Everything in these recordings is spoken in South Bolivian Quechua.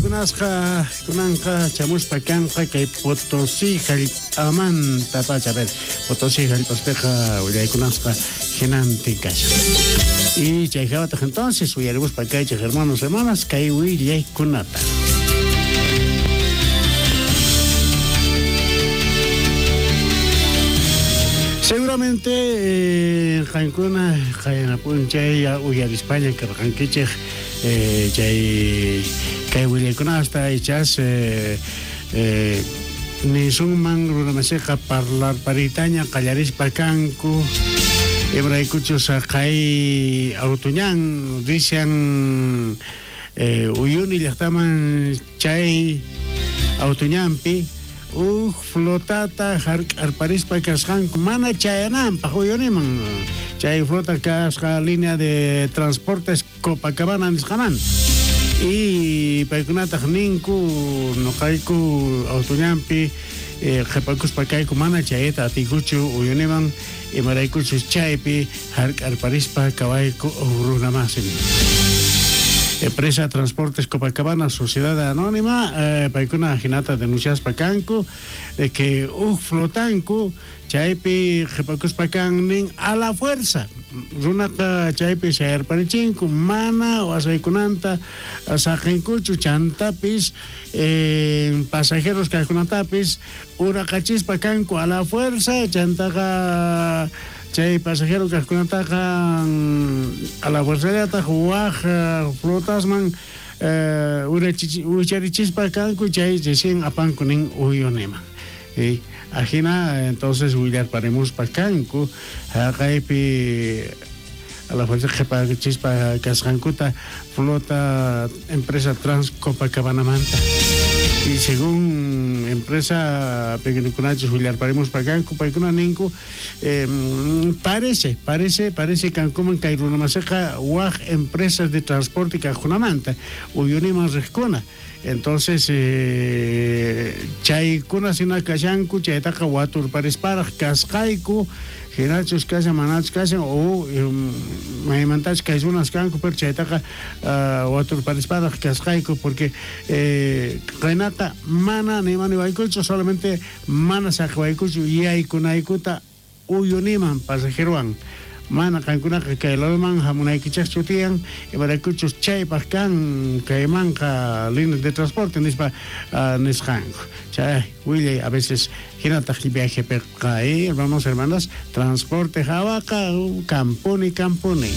Willaykunasqa kunanqa chamuspa kanqa kay Potosí jallp'amantapacha. A ver, Potosí jallp'aspiqa willaykunasqa jinantin kashan. Y chay jawataq entonces uyarimuspa kaychej hermanos, hermanas, kay willaykunata. Seguramente qankuna qayna p'unchay uyarispaña karqankichej chay kay willaykunasta ichas nisunman runamasiqa parlarpariytaña qallarispa kanku imaraykuchus qay autoñan rishan Uyuni llajtaman chay autoñanpi uj flotata jark'arparispa kasqanku mana chayananpaj Uyuniman chay flota kasqa línea de transportes Copacabana nisqamanta. Y paykunataj ninku noqayku autoñanpi qhepakuspa kayku mana chayata atiykuchu Uyuniman imaraykuchus chaypi jark'arparispa kawayku runamasin. Empresa Transportes Copacabana Sociedad Anónima paykuna jinata denunciaspa kanku de que uj flotanku chaypi qhepakuspa kan nin a la fuerza runaqa chaypi sayarparichinku mana wasaykunanta saqenkuchu chantapis pasajeros kajkunatapis uraqachispa kanku a la fuerza chantaqa chay pasajero kajkunataqa a la fuerzallataj waj flotasman wicharichispa kanku chay recién apanku nin Uyuniman. Ajina entonces willarparimuspa kanku jaqaypi a la fuerza qhepachispa kasqankuta flota empresa Trans Copacabanamanta. Y según empresa pequeñukunachus willarparimuspa kanku paykuna ninku parece kankuman kay runamasiqa waj empresas de transporte kajkunamanta Uyuniman riqkuna. Entonces chaykuna sina kashanku chaytaqa waturparisparaj kasqayku jinachus kashan manachus kashan o maymantachus kay runas kanku pero chaytaqa waturparisparaj kasqayku porque qaynata mana nimaniwaykuchu solamente mana saqewaykuchu yaykunaykuta Uyuniman pasajerowan mana qankunaqa kay ladoman jamunaykichejchu tiyan, imaraykuchus chaypaj kan kaymanqa línea de transporte nispa nisqanku. Chay willay a veces jinataj viajepeqa, hermanos, hermanas, transporte jawaqa kampuni, kampuni.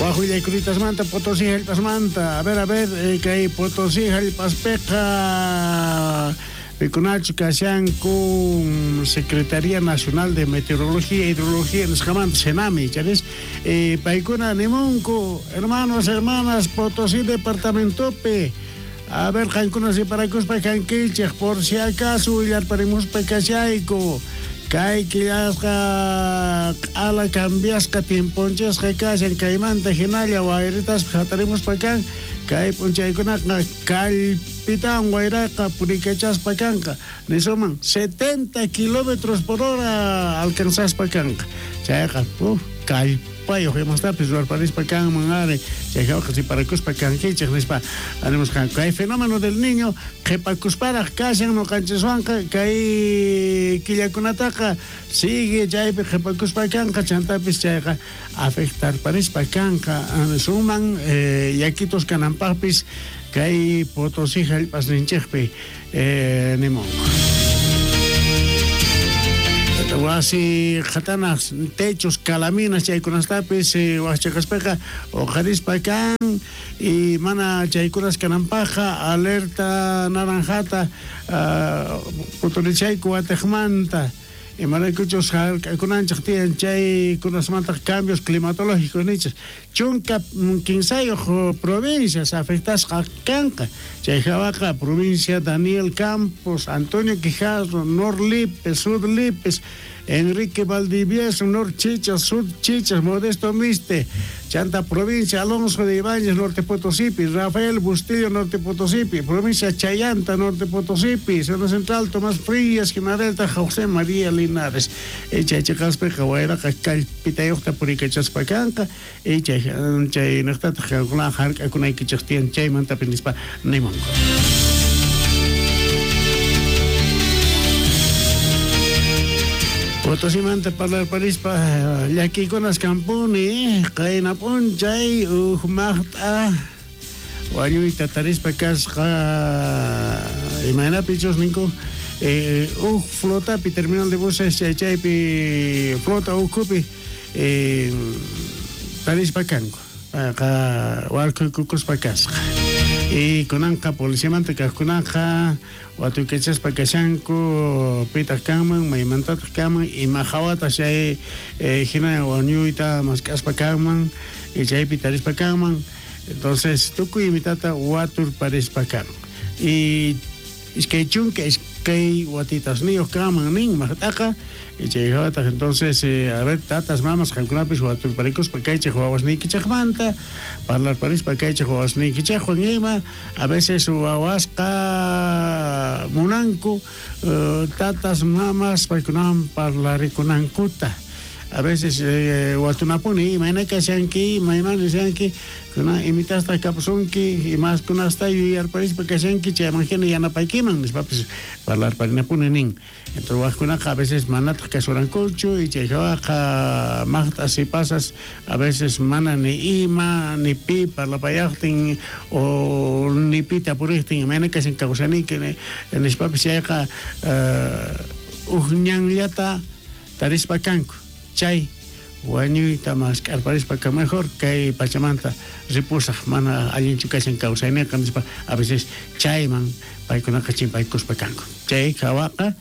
Waj willaykulitasmanta, Potosí jallp'asmanta. A ver, a ver, kay Potosí jallp'aspeqa pikunachu kashanku Secretaría Nacional de Meteorología e Hidrología nisqamanta, Senami, charis? Paykuna nimunku, hermanos, hermanas, Potosí departamentopi. A ver, qankuna separakuspa kankichej, por si acaso willarparimuspa kashayku. Kay killasqa q'ala cambiasqa tiemponchasqa kashan kaymanta hinalla wayritaspa hatarimuspa kan kay p'unchaykunaqa kallpitawan wayraqa purikachaspa kanqa nisuman 70 kilómetros por hora alcanzaspa kanqa chayqa kallpayoj imastapis ruwarparispa kanman ari chay jawqa siparakuspa kankichej nispa animusqanku kay fenómeno del niño Qhepakusparaj kashan noqanchiswanqa kay killakunataqa sigue chaypi qhepakuspa kanqa chantapis chayqa afectarparispa kanqa suman yakitos kananpajpis kay Potosí jallp'asninchejpi nimunku. Wasi qhatanas, techos, calaminas chaykunastapis wajchaqaspeqa oqharispa kan. Y mana chaykunas kananpajqa alerta naranjata puturichayku watejmanta imaraykuchus jark'akunanchej tiyan chaykunasmantaj cambios climatológicos nichej 13 provincias afectasqa kanqa chay jawaqa provincia Daniel Campos, Antonio Quijarro, Nor Lipes, Sur Lipes, Enrique Valdivieso, Norte Chichas, Sur Chichas, Modesto Miste, Chanta provincia Alonso de Ibáñez, Norte Potosípi, Rafael Bustillo, Norte Potosípi, provincia Chayanta, Norte Potosípi, Zona Central, Tomás Frías, Delta, José María Linares. Chay chiqaspiqa wayraqa kallpitayuqta purikachaspa kanqa, chay chaynaqtataq qankuna hark'akunaykichik tiyan chaymantapis nispa nimunku. Potosimanta parlarparispa llakiykunas kanpuni, qayna p'unchay uj maqt'a wañuyta tarispa kasqa, imaynapichus ninku, uj flotapi terminal de buses chay chaypi flota ukhupi tarispa kanku, payqa warkhuykukuspa kasqa. Y kunanqa policiamanta kaqkunaqa watuykachaspa kashanku, pitaq kanman, maymantataq kanman, ima hawataq chay hina wañuyta mask'aspa kanman, y chaypi tarispa kanman. Entonces tukuy imitata waturparispa kan. Y iskay chunka iskay watitasniyuq kanman nin maqt'aqa, y chay hawataq entonces a ver, tatas, mamas, qankunapis waturparikuspa kaychik wawasniykichikmanta, parlarparispa kaychik wawasniykichikwan ima, a veces wawasqa munanku tatas, mamas paykunawan parlarikunankuta. A veces watunapuni, imayna kashanki, imayman rishanki, kuna imitasta kapusunki, imaskunasta yuyarparispa kashanki, chayman hina yanapaykiman, nispapis parlarparinapuni nin. Entonces wajkunaqa a veces manataq kasurankuchu, y chay hawaqa maqt'as y pasas, a veces mana ni ima, ni pi parlapayaqtin, o ni pi tapuriqtin, imayna kashan kawsaniki, nispapis chayqa uj ñanllata tarispa kanku. Chay wañuyta mask'arparispa ka mejor kay pachamanta ripusaq, mana allinchu kashan kawsayninqa nispa, a veces chayman paykunaqa chimpaykuspa kanku. Chay hawaqa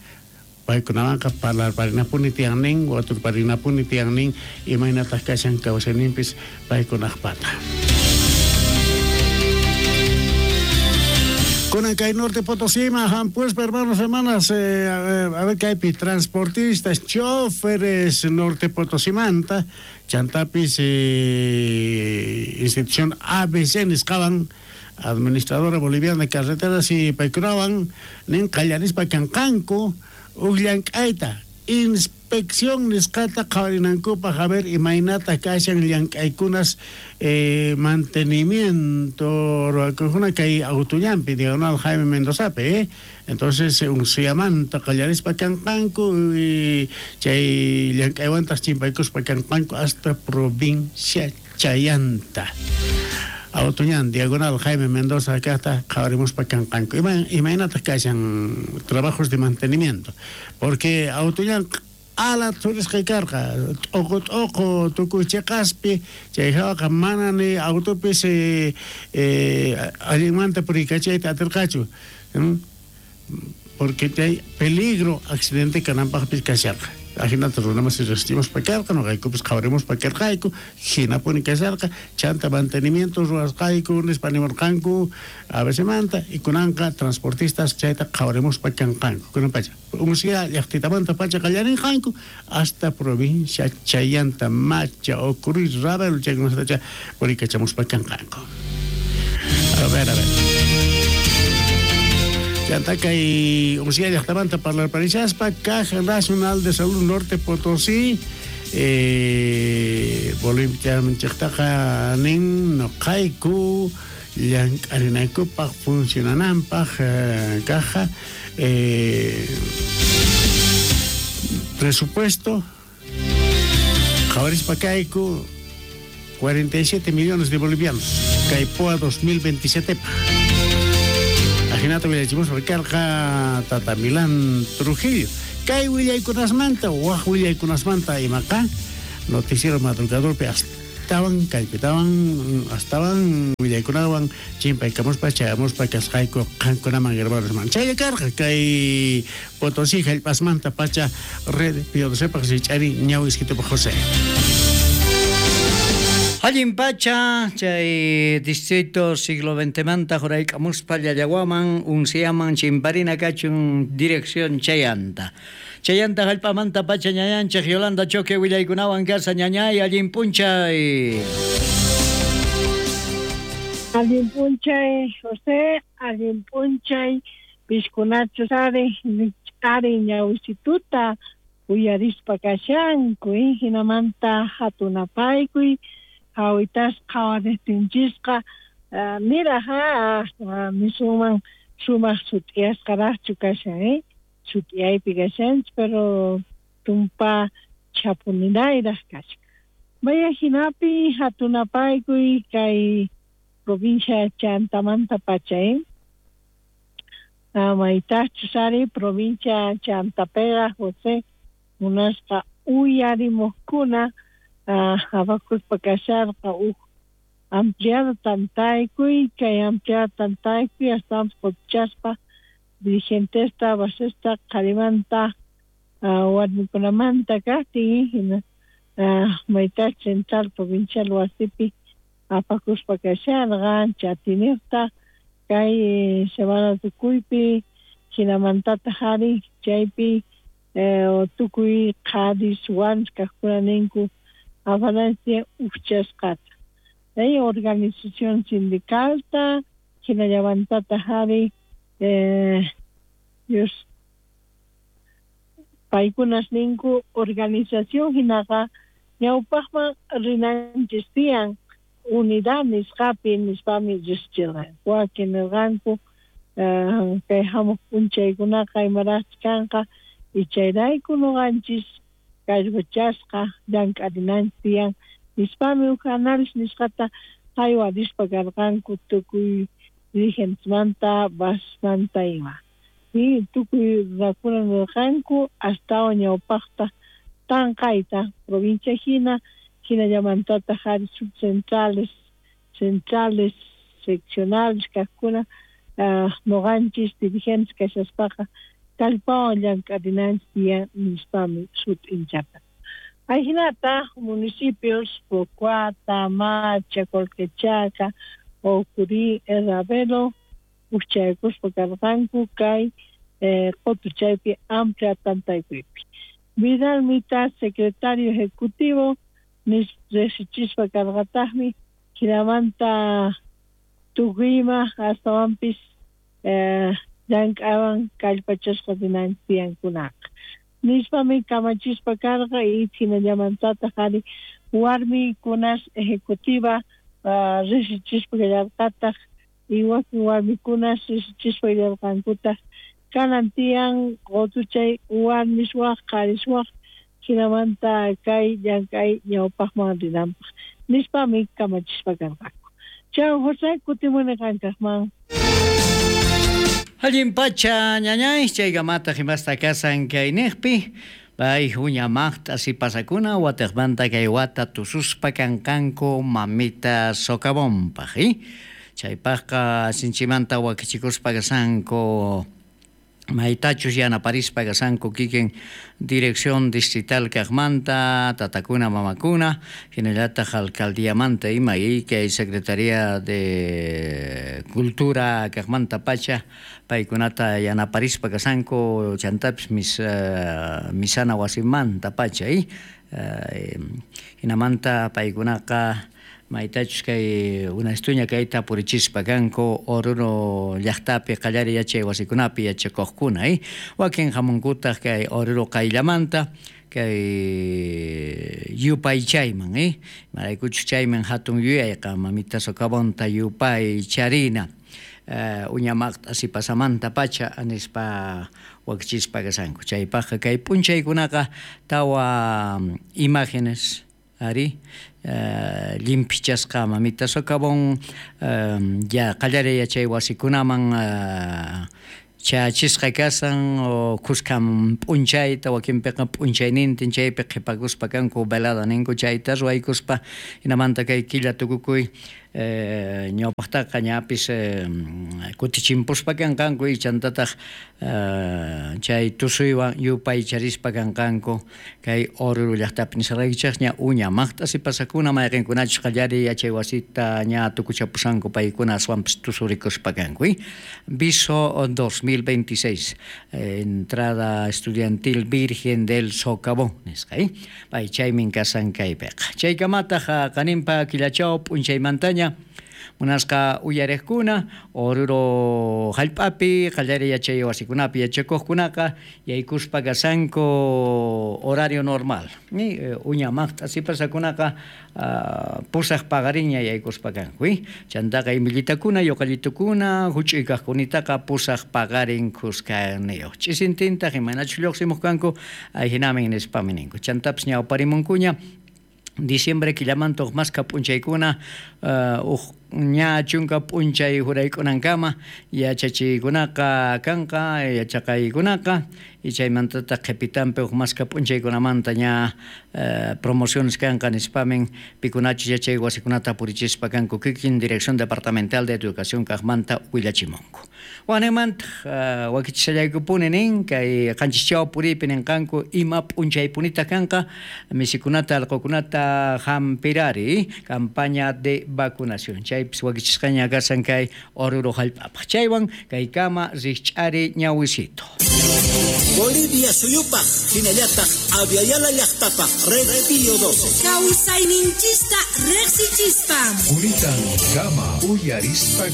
paykunawanqa parlarparinapuni tiyan nin, waturparinapuni tiyan nin, imaynataq kashan kawsayninpis paykunaqpata. Kunan kay Norte Potosí, hampuspa, hermanos, hermanas, a ver kaypi transportistas, choferes Norte Potosimanta, chantapis institución ABC nisqawan, administradora boliviana de carreteras y paykunawan nin qallarispa kanqanku uj llank'ayta inspección nisqata qhawarinankupaq, a ver imaynata kashan llank'aykunas mantenimiento ruwakujuna kay autollampi diagonal Jaime Mendozapi, Entonces unsuyamanta qallarispa kanqanku y chay llank'aywantaq chimpaykuspa kanqanku hasta provincia Chayanta. Autoñan, diagonal Jaime Mendoza kaqta qhawarimuspa kanqanku. Imaynataq kashan trabajos de mantenimiento, porque autoñan ala thurisqa karqa, t'uqu t'uqu tukuy chiqaspi, chay hawaqa mana ni autopis allinmanta puriykachayta atirqachu, porque chay peligro accidente kananpaqpis kasharqa. Ajinata runamas resistimos karqa, noqaykupis qhawarimuspa karqayku, hinapuni kasharqa, chanta mantenimiento ruwasqayku nispa nimurqanku ABC-manta, y kunanqa transportistas chayta qhawarimuspa kanqanku. Kunan pacha, unsya llaqtitamanta pacha qallarinqanku hasta provincia Chayanta, Macha, Ocurí, Ravelo, chaykunatacha puriykachamuspa kanqanku. A ver, a ver. Chanta kay unsya llaqtamanta parlarparishaspa, Caja Nacional de Salud Norte Potosí, Boliviamanchiktaqa nin noqayku llank'arinaykupaq funcionananpaq caja presupuesto qhawarispa kayku 47 millones de bolivianos kay POA 2027 paq. Ajinata willachimuspa karqa Tata Milán Trujillo. Kay willaykunasmanta, waj willaykunasmanta imaqa noticiero madrugadorpi astawan kallpitawan astawan willaykunawan chimpaykamuspa chayamuspa kasqayku qankunaman hermanos. Chaylla karqa kay Potosí hallp'asmanta pacha red Piodosepaq rich'ari ñawiskitupa José. Allin pacha, chay distrito siglo XX manta jurayk'amuspa Llallawaman, Unciaman, Chimparina kachun dirección chayanta. Chayanta jallp'amanta pacha ñañanchej Yolanda Choque willaykunawan kashan. Ñañay, allin p'unchay. Allin p'unchay, José, allin p'unchay, piskunachus ari ari ñawisituta uyarispa kashanku, hinamanta hatunapaykuy hawitas qhawarejtinchisqa niraj nisunman sumaq sut'iyasqaraqchu kashan, sut'iyaypi kashanchis, pero tumpa chhapuninayraq kashan. Vaya hinapi hatunapaykuy kay provincia Chantamanta pacha, maytachus ari provincia Chantapega José munasqa uyarimuqkuna apakuspa kasharqa uj ampliado tantaykuy, kay ampliado tantaykuy astawanpis qutuchaspa dirigentesta basesta qharimanta warmikunamanta kaqtin, hina maytach central provincial wasipi apakuspa kasharqa chatiniqta kay semana tukuypi, hinamantataq ari chaypi tukuy qharis warmis kaqkuna ninku apananchis ujchasqata organización sindicalta, hinallamantataq ari Dios paykunas ninku organización hinaqa ñawpaqman rinanchis tiyan unidad nisqapi nispami riqsichirqanku, wakin nirqanku kay hamuq p'unchaykunaqa imaraqchus kanqa y chayrayku nuqanchis kallpachasqa llank'arinanchis tiyan nispami uj análisis nisqata haywarispa karqanku tukuy dirigentesmanta basmanta ima. Y tukuy runakuna nirqanku astawan ñawpaqta tanqayta provincia hina hinallamantataq ari subcentrales, centrales, seccionales kaqkuna nuqanchis dirigentes kashaspaqa kallpawan llank'arinanchis tiyan nispami sut'inchata. Ajinata municipios Pocuata, Macha, Colquechaca, Ocurí, Ravelo, ujchaykuspa karqanku kay qutuchaypi amplia tantaykuypi. Vidal Mita, secretario ejecutivo, riqsichispa karqataqmi hinamanta tukuyma astawanpis llank'awan kallpachasqa rinanchis tiyankunaqa. Nispami kamachispa karqa y hinallamantataq ari warmikunas ejecutiva riqsichispa kallarqataq y wakin warmikunas riqsichispa kallarqankutaq kanan tiyan qutuchay warmis waq qharis waq hinamanta kay llank'ay ñawpaqman rinanpaq nispami kamachispa karqanku. Chao José, kutimuni qankaqman. Allin pacha ñañay, chaykamata himasta kasan kayniqpi, pay uña maqt'a sipasakuna watiqmanta kay wata tususpa kanqanku mamita socavonpaq, chaypaqqa sinchimanta wakichikuspa kasanku maytachus yanaparispa kasanku kikin dirección distrital kaqmanta tatakuna mamakuna hinallataq alcaldiamanta ima y kay secretaría de cultura kaqmanta pacha paykunata yanaparispa kasanku chantapis misana wasimanta pacha hinamanta paykunaqa maytachus kay unastuña kayta purichispa kanku Oruro llaqtapi qallari yachay wasikunapi yachakuqkuna, wakin hamunkutaq kay Oruro qayllamanta kay yupaychayman, imaraykuchus chayman hatun yuyayqa mamita socavonta yupaycharina uña maqt'a sipasamanta pacha nispa wakichispa kasanku. Chaypaqqa kay p'unchaykunaqa tawa imágenes ari limpichasqa mamita socavón ya qallari yachay wasikunaman chachisqa kasan o kuskan p'unchayta wakinpiqa p'unchaynintin chaypi qhipakuspa kanku velada ninku chayta ruwaykuspa hinamanta kay killa tukukuy Ñawpaqtaqa ñapis kutichimpuspa kanqanku chantataq chay tusuywan yupaycharispa kanqanku kay Oruro llaqtapi nisqaykichikña uña maqt'a sipasakuna mayqinkunachus qallariy yachay wasita ña tukuchapusanku paykuna aswanpis tusurikuspa kanku. Viso 2026 entrada estudiantil Virgen del Socavón nisqa pay chaymin kasan kaypiqa chaykamataq qaninpa killachaw p'unchaymantaña munasqa uyariqkuna Oruro hallp'api qallariy yachay wasikunapi yachakuqkunaqa yaykuspa kasanku horario normal uña maqt'a sipasakunaqa pusaq paqarinña yaykuspa kanku chantaqa imillitakuna yuqallitukuna huch'uy kaqkunitaqa pusaq paqarin khuskaniyuq ch'isintintaq imaynachus lluqsimuq kanku ayhinamin nispami ninku chantapis ñawparimunkuña diciembre killamanta uq maskha p'unchaykuna uq ña chunka p'unchay huraykunankama yachachiykunaqa kanqa yachaqaykunaqa y chaymantataq qhipitanpi uq maskha p'unchaykunamanta ña promociones kanqa nispamin pikunachus yachay wasikunata purichispa kanku kikin Dirección Departamental de Educación kaqmanta willachimunku. Wanimantaq wakichishallaykupuni nin kay qanchischaw puriypi ninqanku ima p'unchaypunita kanqa misikunata allqukunata hampirari campaña de vacunación chaypis wakichisqaña kasan kay Oruro hallp'apaq chaywan kaykama rikch'ari ñawisito. Bolivia suyupaq hinallataq Aviala llaqtapaq Red Pío 12. Kawsayninchista riqsichispa. Quritan kama uyarispa.